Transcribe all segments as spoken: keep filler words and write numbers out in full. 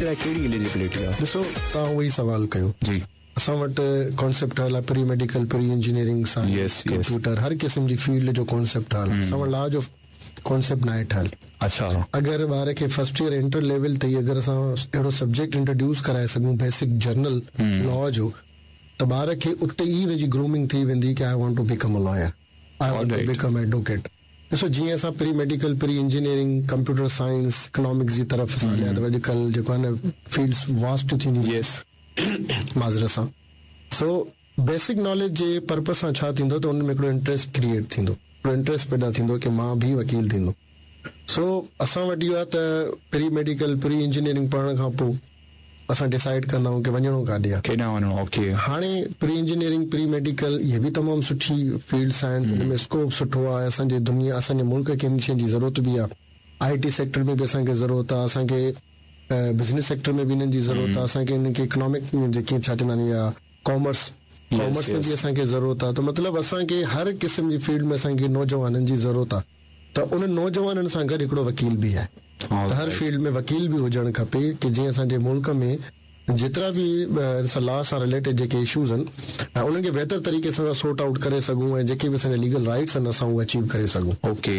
لاءِ ڪهڙي ايليجبلٽي آهي؟ ڏسو، توهان اهو ئي سوال ڪيو. جي اسان وٽ ڪانسيپٽ ٺهيل آهي pre medical, pre engineering, Yes, science, yes. Computer, هر قسم جي فيلڊ جو ڪانسيپٽ ٺهيل آهي. اسان وٽ لا جو ڪانسيپٽ ناهي ٺهيل. اڇا اگر ٻار کي فرسٽ ايئر انٽر ليول تي ئي اگر اسان اهڙو سبجيڪٽ انٽروڊيوس ڪرائي سگهون بيسڪ جنرل لا جو، ته ٻار کي اتي ئي هن جي گرومنگ ٿي ويندي ڪه I want to become a lawyer, I want to Alright. Become advocate. ڏسو، جيئن اسان pre medical, pre engineering, computer science, economics جي طرف اسان هليا ته اڄڪلهه جيڪو آهي نه فيلڊس واسٽ ٿينديون. يس معذرت سان. سو بيسڪ ناليج جي پرپز سان ڇا ٿيندو ته ان ۾ هڪڙو انٽريسٽ ڪريئيٽ ٿيندو، هڪڙو انٽريسٽ پيدا ٿيندو ڪه مان به وڪيل ٿيندو. سو اسان وٽ اهو آهي ته پري ميڊيڪل، پري انجنيئرنگ پڙهڻ کان پوءِ اسان ڊسائيڊ ڪندا آهيون ڪه وڃڻو ڪاڏي آهي. ڪيڏانهن وڃڻو؟ اوڪي هاڻي پري انجنيئرنگ، پري ميڊيڪل اهي به تمام سٺي فيلڊس آهن، هن ۾ اسڪوپ سٺو آهي. اسان جي دنيا، اسان جي ملڪ کي هن شين جي ضرورت به آهي. I T sector ۾ به اسان کي ضرورت آهي، اسان کي بزنس سيڪٽر ۾ به هنن جي ضرورت آهي، اسان کي هنن کي اڪنامڪ جيڪي ڇا چوندا آهن يا ڪامرس، ڪامرس ۾ به اسان کي ضرورت آهي. ته مطلب اسان کي هر قسم جي فيلڊ ۾ اسان کي نوجوانن جي ضرورت آهي، ته انهن نوجوانن سان گڏ هڪڙو وڪيل به آهي. ته هر فيلڊ ۾ وڪيل به هجڻ کپي ڪه جيئن اسان جي ملڪ ۾ جيترا به ان سان لا سان رليٽيڊ جيڪي اشوز آهن ۽ انهن کي بهتر طريقي سان اسان سورٽ آئوٽ ڪري سگهون ۽ جيڪي به اسان جا ليگل رائٽس آهن اسان اهي اچيو ڪري سگهون. اوڪي،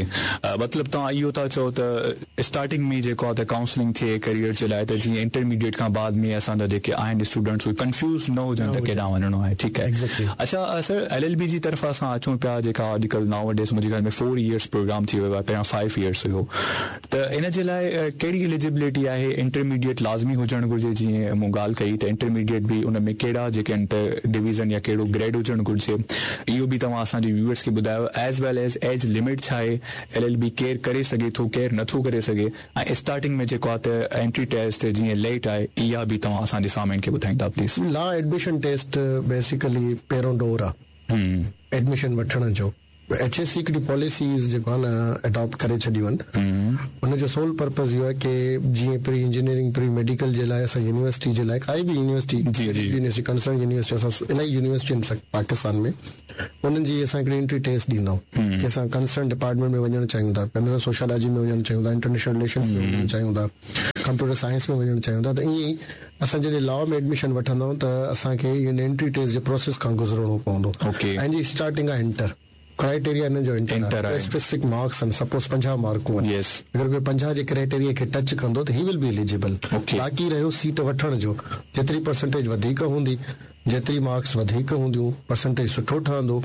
مطلب توهان اهو ٿا چئو ته اسٽارٽنگ ۾ جيڪو آهي ته ڪائونسلنگ ٿئي ڪيريئر جي لاءِ ته جيئن انٽرميڊيئيٽ کان بعد ۾ اسان جا جيڪي آهن اسٽوڊنٽس اهي ڪنفيوز نه هجن ته ڪيڏانهن وڃڻو آهي. ٺيڪ آهي. Exactly. اڇا سر، ايل ايل بي جي طرف اسان اچون پيا، جيڪا اڄڪلهه ناو ڊيز منهنجي خيال ۾ فور ايئرس پروگرام ٿي ويو آهي، پهريان فائيو ايئرس هيو، ته ان جي لاءِ ڪهڙي ايليجبلٽي آهي؟ انٽرميڊيئيٽ لازمي هجڻ گهرجي؟ جيئن مون ڳالهه ڪئي ته انٽرميڊيئيٽ به ان ۾ ڪهڙا جيڪي آهن ته ڊويزن يا ڪهڙو گريڊ هجڻ گهرجي، اهو به توهان اسان جي ويوئرس کي ٻڌايو، as well as age limit ڇا آهي، ايل ايل بي ڪير ڪري سگهي ٿو، ڪير نٿو ڪري سگهي، ۽ اسٽارٽنگ ۾ جيڪو آهي ته انٽري ٽيسٽ جيئن ليٽ آهي، اها به توهان اسان جي سامعين کي ٻڌائيندا please. Law admission test basically پهريون دور آهي ايڊميشن وٺڻ جو. ايڇ ايس سي هڪڙي پاليسيز جيڪو آهي نه اڊاپٽ ڪري ڇڏيون آهن، ان جو سول پرپز اهو آهي ڪه جيئن پري انجنيئرنگ، پري ميڊيڪل جي لاءِ اسان يونيورسٽي جي لاءِ ڪائي به يونيورسٽي، جي، جي. يونيورسٽي، ڪنسرن يونيورسٽي، اسان الاهي يونيورسٽي آهن پاڪستان ۾، انهن جي اسان هڪڙي انٽري ٽيسٽ ڏيندا آهيون ڪه اسان ڪنسرن ڊپارٽمينٽ ۾ وڃڻ چاهيون ٿا، اسان سوشيالاجي ۾ وڃڻ چاهيون ٿا، انٽرنيشنل رليشنس ۾ وڃڻ چاهيون ٿا، ڪمپيوٽر سائنس ۾ وڃڻ چاهيون ٿا. ته ائين ئي اسان جڏهن لا ۾ ايڊميشن وٺندا آهيون ته اسان کي ان انٽري ٽيسٽ جي پروسيس کان گذرڻو پوندو. اوڪي. ۽ جي اسٽارٽنگ آهي انٽر ڪرائيٽيريا، هن جو انٽر انٽر آهي. اسپيسفڪ مارڪس آهن، سپوز پنجاهه مارڪون آهن. يس. اگر ڪوئي پنجاهه جي ڪرائيٽيريا کي ٽچ ڪندو ته هي ول بي ايليجبل. اوڪي. باقي رهيو سيٽ وٺڻ جو، جيتري پرسنٽيج وڌيڪ هوندي، جيتري مارڪس وڌيڪ هونديون، پرسنٽيج سٺو ٺهندو،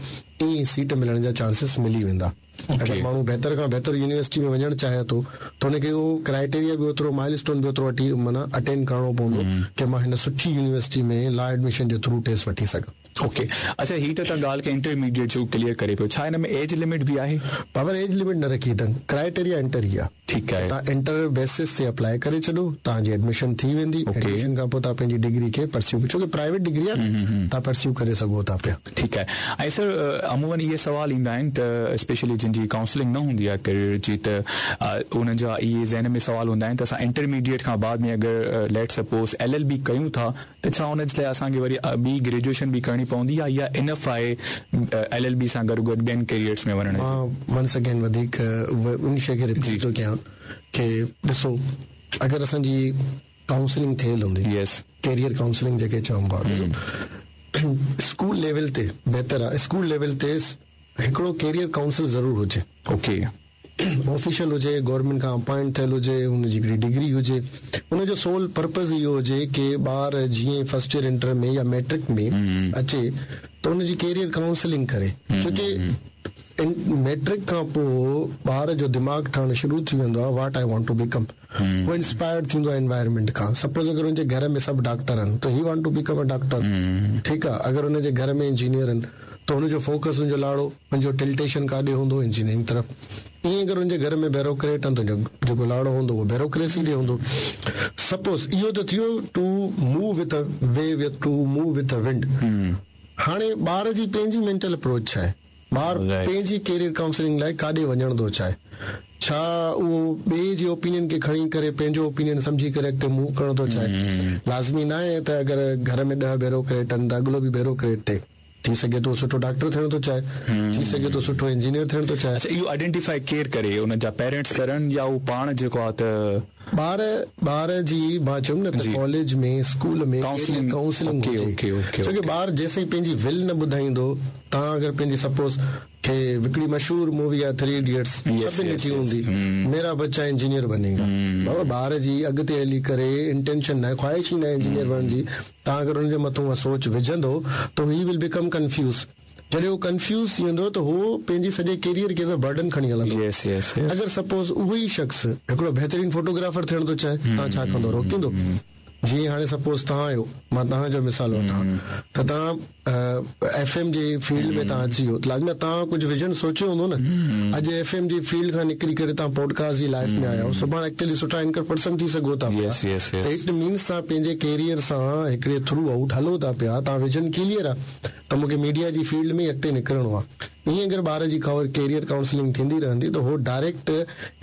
ائين سيٽ ملڻ جا چانسز ملي ويندا. اوڪي. اگر ماڻهو بهتر کان بهتر يونيورسٽي ۾ وڃڻ چاهي ٿو ته هن کي اهو ڪرائيٽيريا به اوترو، مائل اسٽون به اوترو وٺي معنيٰ اٽينڊ ڪرڻو پوندو ڪه مان هن سٺي يونيورسٽي ۾ لا ايڊميشن جي ٿرو ٽيسٽ وٺي سگهان. اوڪي. اڇا، هي ته توهان ڳالهه کي انٽرميڊيئيٽ جو ڪليئر ڪري پيو، ڇا هن ۾ ايج لمٽ به آهي؟ پاور ايج لمٽ نه رکي اٿن، ڪرائيٽيريا انٽر ئي آهي. ٺيڪ آهي. توهان انٽر بيسس تي اپلائي ڪري ڇڏو، توهان جي ايڊميشن ٿي ويندي. اوڪي. ايڊميشن کان پوءِ توهان پنهنجي ڊگري کي پرسيو، ڇو ڪه پرائيويٽ ڊگري آهي، توهان پرسيو ڪري سگهو ٿا پيا. ٺيڪ آهي. ۽ سر، عمومن اهي سوال ايندا آهن ته اسپيشلي جن جي ڪائونسلنگ نه هوندي آهي ڪيريئر جي، ته انهن جا اهي ذهن ۾ سوال هوندا آهن ته اسان انٽرميڊيئيٽ کان بعد ۾ اگر late suppose L L B ڪيون ٿا ته ڇا ان جي لاءِ اسان کي وري ٻي گريجوئيشن به ڪرڻي پوندي آهي يا انف آهي ايل ايل بي سان گڏ گڏ ٻين ڪيريئرس ۾ وڃڻ جي؟ مان ونس اگين وڌيڪ ان شيءِ کي رپيٽ ٿو ڪيان ڪه ڏسو، اگر اسان جي ڪائونسلنگ ٿيل هوندي، يس. ڪيريئر ڪائونسلنگ جيڪي چئون پيا، ڏسو اسڪول ليول تي بهتر آهي، اسڪول ليول تي هڪڙو ڪيريئر ڪائونسل ضرور هجي. اوڪي. آفيشل هجي، گورنمينٽ کان اپائنٽ ٿيل هجي، هن جي هڪڙي ڊگري هجي، هن جو سول پرپز اهو هجي ڪه ٻار جيئن فرسٽ ايئر انٽر ۾ يا ميٽرڪ ۾ اچي ته هن جي ڪيريئر ڪائونسلنگ ڪري، ڇو ڪه ميٽرڪ کان پوءِ ٻار جو دماغ ٺهڻ شروع ٿي ويندو آهي، what I want to become. هو انسپائرڊ ٿيندو آهي انوائرمينٽ کان. سپوز اگر هن جي گهر ۾ سڀ ڊاڪٽر آهن ته he want to become a doctor. ٺيڪ آهي، اگر هن جي گهر ۾ انجنيئر آهن ته هن جو فوڪس، هن جو لاڙو، هن جو ٽلٽيشن ڪاڏي هوندو؟ انجنيئرنگ طرف. ائين اگر هن جي گهر ۾ بيوروڪريٽ آهن ته هن جو جيڪو لاڙو هوندو اهو بيوروڪريسي ڏي هوندو. سپوز اهو ته ٿيو to move with a wave, to move with a wind. هاڻي ٻار جي پنهنجي مينٽل اپروچ ڇا آهي؟ ٻار پنهنجي ڪيريئر ڪائونسلنگ لاءِ ڪاڏي وڃڻ ٿو چاهي؟ ڇا اهو ٻئي جي اوپينين کي کڻي ڪري پنهنجو اوپينين سمجهي ڪري اڳتي موو ڪرڻ ٿو چاهي؟ لازمي نه آهي ته اگر گهر ۾ ڏهه بيوروڪريٽ آهن ته اڳلو به بيوروڪريٽ ٿئي. थी सघे थो सुठो डॉक्टर थियणु थो चाहे, थी सघे थो सुठो इंजीनियर थियणु थो चाहे। अच्छा, इहो आइडेंटिफाई केरु करे, उन जा पेरेंट्स करनि या उहो पाण जेको आहे त ॿार ॿार जी मां चयुमि न त कॉलेज में स्कूल में काउंसलिंग काउंसलिंग ओके ओके, छो की ॿार जेसीं पंहिंजी will न ॿुधाईंदो। तव्हां अगरि पंहिंजी सपोज़ खे हिकिड़ी मशहूर मूवी आहे थ्री इडियट्स, सभिनी ॾिठी हूंदी, मेरा बच्चा इंजीनियर बनेगा। बाबा ॿार जी अॻिते हली करे इंटेंशन न आहे, ख़्वाहिश ई न आहे इंजीनियर बणण जी, तव्हां अगरि हुनजे मथां उहा सोच विझंदो त he will become confuse. जॾहिं उहो कन्फ्यूज़ थी वेंदो त उहो पंहिंजी सॼे करियर खे बर्डन खणी हलंदो। यस यस, अगरि सपोज़ उहो ई शख़्स हिकिड़ो बहितरीन फोटोग्राफर थियणु थो चाहे, तव्हां छा कंदो? रोकींदो? जीअं हाणे सपोज़ तव्हां आहियो, मां तव्हांजो मिसाल वठां त तव्हां एफ एम जे फील्ड में तव्हां अची वियो, लाज़मी तव्हां कुझु विजन सोचियो हूंदो न। अॼु एफ एम जी फील्ड खां निकिरी करे तव्हां पॉडकास्ट जी लाइफ में आया आहियो, सुभाणे अॻिते हली सुठा एंकर पर्सन थी सघो था पिया। त it means तव्हां पंहिंजे करियर सां हिकिड़े थ्रू आउट हलो था पिया, तव्हां विजन क्लियर आहे त मूंखे मीडिया जी फील्ड में अॻिते निकिरणो आहे। ईअं अगरि ॿार जी करियर काउंसलिंग थींदी रहंदी त हो डायरेक्ट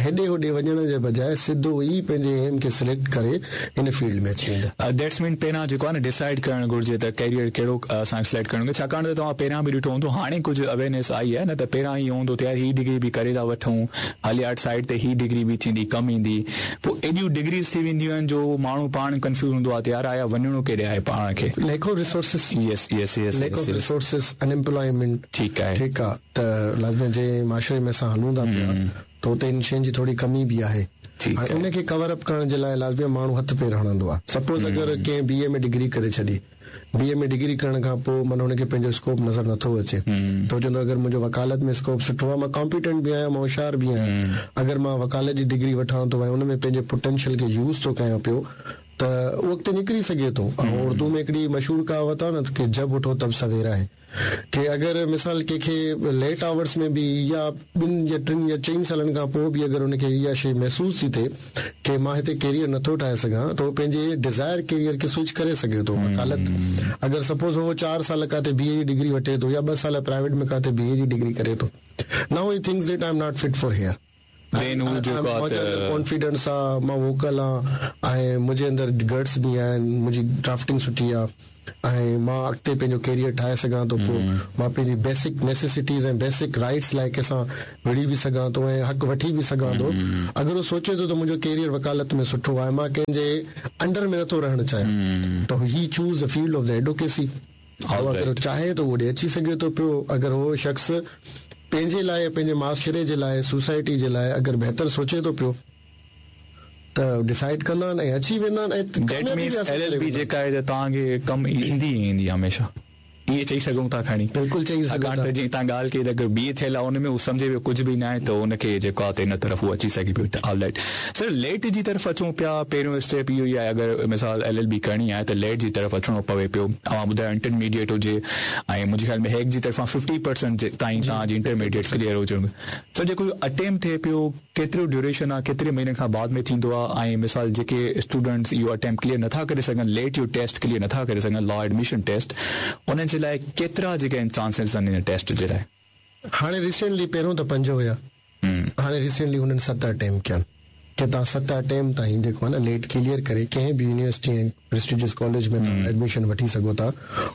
हेॾे होॾे वञण जे बजाए सिधो ई पंहिंजे एम खे सिलेक्ट करे हिन फील्ड में अची वेंदा। That's मीन पहिरियां जेको आहे न डिसाइड करणु घुरिजे त करियर कहिड़ो असांखे सिलेक्ट करणु घुरिजे, छाकाणि त तव्हां पहिरियां बि ॾिठो हूंदो, हाणे कुझु अवेयरनेस आई आहे न त पहिरियां इहो हूंदो त यार ही डिग्री बि करे था वठूं, हाली आर्ट साइड ते ही डिग्री बि थींदी कमु ईंदी, पोइ एॾियूं डिग्रीज़ थी वेंदियूं आहिनि जो माण्हू पाण कंफ्यूज़ हूंदो आहे त यार आया वञिणो केॾे आहे पाण खे। Lack of resources, yes yes yes, lack of resources, unemployment, ठीकु आहे, ठीकु आहे। त लाज़मी जंहिं माशरे में असां हलूं था पिया त हुते इन शयुनि जी थोरी कमी बि आहे, उनखे कवर अप करण जे लाइ लाज़मी माण्हू हथु पेर हणंदो आहे। सपोज़ अगरि कंहिं बी ए में डिग्री करे छॾी, बी ए में डिग्री करण खां पोइ माना हुनखे पंहिंजो स्कोप नज़र नथो अचे, त चवंदो अगरि मुंहिंजो वकालत में स्कोप सुठो आहे, मां कॉम्पिटेंट बि आहियां, मां होशियार बि आहियां, अगरि मां वकालत जी डिग्री वठां थो ऐं हुन में पंहिंजे पोटेंशियल खे यूज़ थो कयां पियो त उहो अॻिते निकिरी सघे थो। ऐं उर्दू में हिकिड़ी मशहूर कहावत आहे न कि जब उठो तब सवेरा आहे, कि अगरि मिसाल कंहिंखे लेट आवर्स में बि या ॿिनि या टिनि या चइनि सालनि खां पोइ बि अगरि हुनखे इहा शइ महसूसु थी थिए कि मां हिते करियर नथो ठाहे सघां, त उहो पंहिंजे डिज़ायर करियर खे स्विच करे सघे थो। वकालत अगरि सपोज़ उहो चारि साल काथे बी ए जी डिग्री वठे थो या ॿ साल प्राइवेट में काथे बी ए जी डिग्री करे थो, now he thinks that I am not fit for here, confidence आहे, मां वोकल आहियां ऐं मुंहिंजे अंदरि गट्स बि आहिनि, मुंहिंजी ड्राफ्टिंग सुठी आहे ऐं मां अॻिते पंहिंजो करियर ठाहे सघां थो, पोइ मां पंहिंजी बेसिक नेसेसिटीज़ ऐं बेसिक राइट्स लाइ कंहिंसां विढ़ी बि सघां थो ऐं हक़ वठी बि सघां थो। अगरि उहो सोचे थो त मुंहिंजो करियर वकालत में सुठो आहे, मां कंहिंजे अंडर में नथो रहणु चाहियां, त he choose the field of the advocacy. अगरि चाहे त उहो अची सघे थो पियो। अगरि उहो शख़्स पंहिंजे लाइ, पंहिंजे माशरे जे लाइ, सोसाइटी जे लाइ अगरि बहितर सोचे थो पियो त डिसाइड कंदा आहिनि ऐं अची वेंदा आहिनि। That means LLB जेका आहे त तव्हांखे कमु ईंदी ईंदी हमेशह, इहे चई सघूं था खणी? बिल्कुलु चई सघूं था। जीअं तव्हां ॻाल्हि कई त अगरि बी ए थियल आहे हुन में उहो सम्झे पियो कुझु बि न आहे त हुनखे जेको आहे त हिन तरफ़ उहो अची सघे पियो। ऑलराइट सर, लेट जी तरफ़ अचूं पिया, पहिरियों स्टेप इहो ई आहे अगरि मिसाल एल एल बी करणी आहे त लेट जी तरफ़ अचिणो पवे पियो। तव्हां ॿुधायो इंटरमीडिएट हुजे ऐं मुंहिंजे ख़्याल में हेक जी तरफ़ां फिफ्टी परसेंट ताईं तव्हांजी इंटरमीडिएट क्लियर हुजणु। सर जेको अटेम्प्ट थिए पियो केतिरो ड्यूरेशन आहे, केतिरे महीननि खां बाद में थींदो आहे? ऐं मिसाल जेके स्टूडेंट्स इहो अटेम्प्ट क्लियर नथा करे सघनि, लेट जो टेस्ट क्लियर नथा करे सघनि, लॉ एडमिशन टेस्ट, उन्हनि जे लाइ केतिरा जेके आहिनि चांसिस आहिनि हिन टेस्ट जे लाइ? हाणे रिसेंटली पहिरियों त पंज हुया, हाणे रिसेंटली हुननि सत अटेम्प्ट कया आहिनि की तव्हां सत अटेम्प्ट ताईं जेको आहे न लेट क्लियर करे कंहिं बि यूनिवर्सिटी ऐं प्रेस्टिजियस कॉलेज में तव्हां एडमिशन वठी सघो था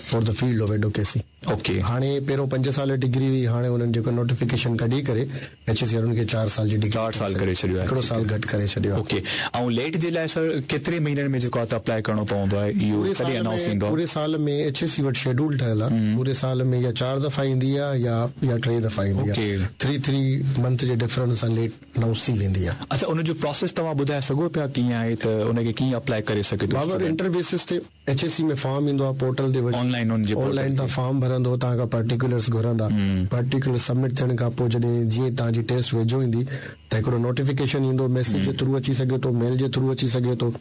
for the field of advocacy. Okay, हाणे पहिरियों पंज साल डिग्री हुई, हाणे हुननि जेको नोटिफिकेशन कढी करे एच एस सी हुनखे चारि साल जी डिग्री, चारि साल करे छॾियो आहे, हिकिड़ो साल घटि करे छॾियो आहे। ओके, ऐं लेट जे लाइ सर केतिरे महीननि में जेको आहे त अप्लाई करिणो पवंदो आहे? इहो कॾहिं अनाउंस थींदो आहे? पूरे साल में एच एस सी वटि शेड्यूल ठहियलु आहे, पूरे साल में या चारि दफ़ा ईंदी आहे या या टे दफ़ा ईंदी आहे, थ्री थ्री मंथ जे डिफरेंस सां लेट अनाउंस थी वेंदी आहे। अच्छा, उनजो प्रोसेस तव्हां ॿुधाए सघो पिया कीअं आहे त उनखे कीअं अप्लाई करे सघे थो? बाबा इंटर बेसिस ते एच एस सी में फॉर्म ईंदो आहे पोर्टल ते, ऑनलाइन ऑनलाइन तव्हां फॉर्म भरंदो, तव्हां खां पर्टिकुलर्स घुरंदा, पर्टिकुलर सबमिट थियण खां पोइ जॾहिं जीअं तव्हांजी टेस्ट वेझो ईंदी त हिकिड़ो नोटिफिकेशन ईंदो, मैसेज जे थ्रू अची सघे थो, मेल जे थ्रू अची सघे थो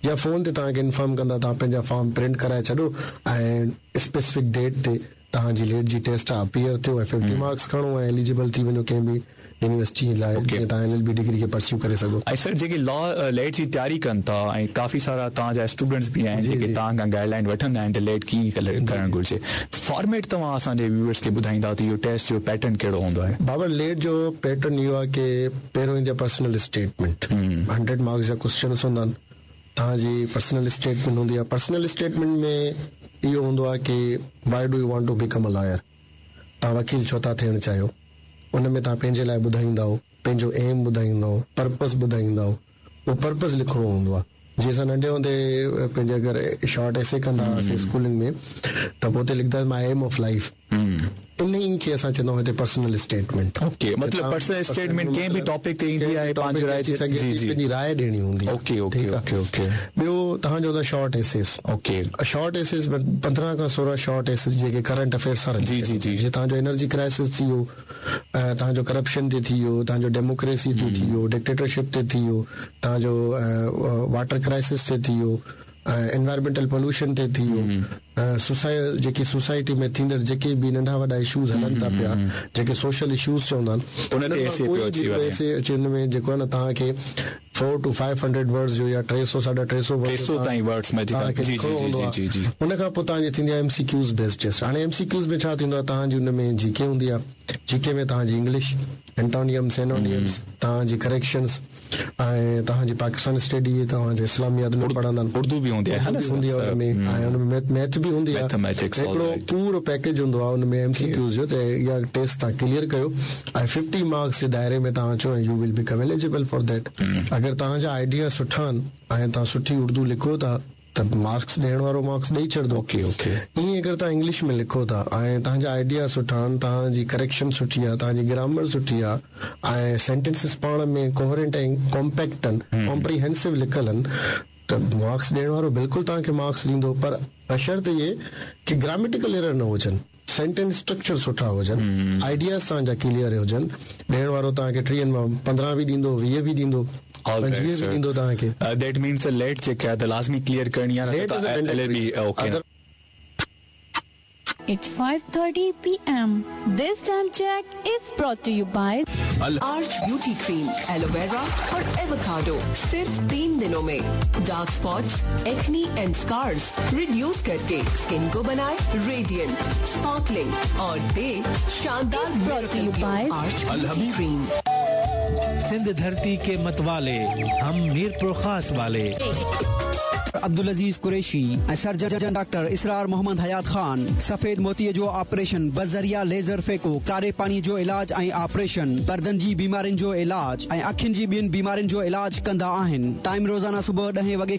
या फ़ोन ते तव्हांखे इन्फॉर्म कंदा तव्हां पंहिंजा फॉर्म प्रिंट कराए छॾो ऐं स्पेसिफिक डेट ते तव्हांजी लेट जी टेस्ट आहे अपीयर थियो ऐं फिफ्टी मार्क्स खणो ऐं एलिजिबल थी वञो कंहिं बि यूनिवर्सिटी लाइ, जीअं तव्हां एल एल बी डिग्री खे परस्यू करे सघो। ऐं सर जेके लॉ लेट जी तयारी कनि था ऐं काफ़ी सारा तव्हांजा स्टूडेंट्स बि आहिनि जेके तव्हां खां गाइडलाइन वठंदा आहिनि त लेट कीअं करणु घुरिजे, फॉर्मेट तव्हां असांजे व्यूअर्स खे ॿुधाईंदा त इहो टेस्ट जो पैटर्न कहिड़ो हूंदो आहे? बाबा लेट जो पैटर्न इहो आहे की पहिरियों ईंदी आहे पर्सनल स्टेटमेंट, हंड्रेड मार्क्स जा क्वेश्चन्स हूंदा आहिनि, तव्हांजी पर्सनल स्टेटमेंट हूंदी आहे। पर्सनल स्टेटमेंट में इहो हूंदो आहे की why do you want to become a lawyer, तव्हां वकील छो था थियणु चाहियो। उन में तव्हां पंहिंजे लाइ ॿुधाईंदा पंहिंजो एम ॿुधाईंदा पर्पस ॿुधाईंदा उहो पर्पस लिखिणो हूंदो आहे। जीअं असां नंढे हूंदे पंहिंजे अगरि शॉर्ट एसे कंदा हुआसीं स्कूलनि में त पोइ उते लिखंदा my M of life, इन ई खे असां चवंदा आहियूं हिते पर्सनल स्टेटमेंट। ओके, मतिलबु पर्सनल स्टेटमेंट कंहिं बि टॉपिक ते ईंदी आहे, पंहिंजी राय जी जी पंहिंजी राय ॾियणी हूंदी। Okay okay okay okay. ॿियो तव्हांजो हूंदो short essays. Okay, short essays पंद्रहं खां सोरहं शॉर्ट एसेस जेके करंट अफेयर्स सां जी जी जी, जीअं तव्हांजो एनर्जी क्राइसिस थी वियो, तव्हांजो करप्शन ते थी वियो, तव्हांजो डेमोक्रेसी ते थी वियो, डिक्टेटरशिप ते थी वियो, तव्हांजो वाटर क्राइसिस ते थी वियो, एनवायरमेंटल पोल्यूशन ते थी वियो, सोसाइ जेकी सोसाइटी में थींदड़ जेके बि नंढा वॾा इशूज़ हलनि था पिया, जेके सोशल इशूज़ चवंदा आहिनि, उन ते एसे पियो अची वञे, एसे अची हुन में जेको आहे न तव्हांखे four to five hundred words जो या टे सौ साढा टे सौ टे सौ ताईं वर्ड्स में जी जी जी जी जी। उन खां पोइ तव्हांजी थींदी आहे एमसीक्यूज़ बेस्ड टेस्ट। हाणे एमसीक्यूज़ में छा थींदो आहे, तव्हांजी हुन में जीके हूंदी आहे, जीके में तव्हांजी इंग्लिश, एंटोनियम्स, सिनोनियम्स, तव्हांजी करेक्शंस ऐं तव्हांजी पाकिस्तान स्टडी, तव्हांजो इस्लामियात में पढ़ंदा आहिनि, उर्दू बि हूंदी आहे, हूंदी आहे हुन में, ऐं हुन में मैथ बि हूंदी आहे। हिकिड़ो पूरो पैकेज हूंदो आहे हुन में एमसीक्यूज़ जो, त इहा टेस्ट तव्हां क्लियर कयो ऐं फिफ्टी मार्क्स जे दायरे में तव्हां अचो ऐं you will become eligible for that. अगरि तव्हांजा आइडिया सुठा आहिनि ऐं तव्हां सुठी उर्दू लिखो था त मार्क्स ॾियण वारो मार्क्स ॾेई छॾींदो। Okay okay. ईअं अगरि तव्हां इंग्लिश में लिखो था ऐं तव्हांजा आइडिया सुठा आहिनि, तव्हांजी करेक्शन सुठी आहे, तव्हांजी ग्रामर सुठी आहे ऐं सेंटेंसिस पाण में कोहरेंट ऐं कॉम्पैक्ट आहिनि, कॉम्प्रीहेंसिव लिखियलु आहिनि, त मार्क्स ॾियण वारो बिल्कुलु तव्हांखे मार्क्स ॾींदो, पर बशर्त इहे की ग्रामेटिकल एरर न हुजनि, सेंटेंस स्ट्रक्चर सुठा हुजनि, आइडियाज़ तव्हांजा क्लियर हुजनि। ॾियण वारो तव्हांखे टीहनि मां पंद्रहं बि ॾींदो, वीह बि ॾींदो, पंजवीह बि ॾींदो तव्हांखे। That means late जेका आहे त लाज़मी क्लियर करणी आहे, न त LLB. Okay. It's five thirty p m. This time check is brought to you by Arch Beauty Cream, Aloe Vera और एवोकाडो। सिर्फ तीन दिनों में dark spots, acne and scars reduce करके स्किन को बनाए रेडिएंट, स्पार्कलिंग और दे शानदार brought to you by Arch Beauty Cream. Sindh धरती के मतवाले, हम मीरपुर खास वाले। अब्दुल अजीज कुरैशी ऐं सर्जन डॉक्टर इसरार मोहम्मद हयात खान। सफ़ेद मोतीअ जो ऑपरेशन बज़रिया लेज़र फेको, कारे पाणीअ जो इलाज ऐं ऑपरेशन, परदनि जी बीमारियुनि जो इलाज ऐं अखियुनि जी ॿियनि बीमारियुनि जो इलाज कंदा आहिनि। टाइम रोज़ाना सुबुह ॾहें वॻे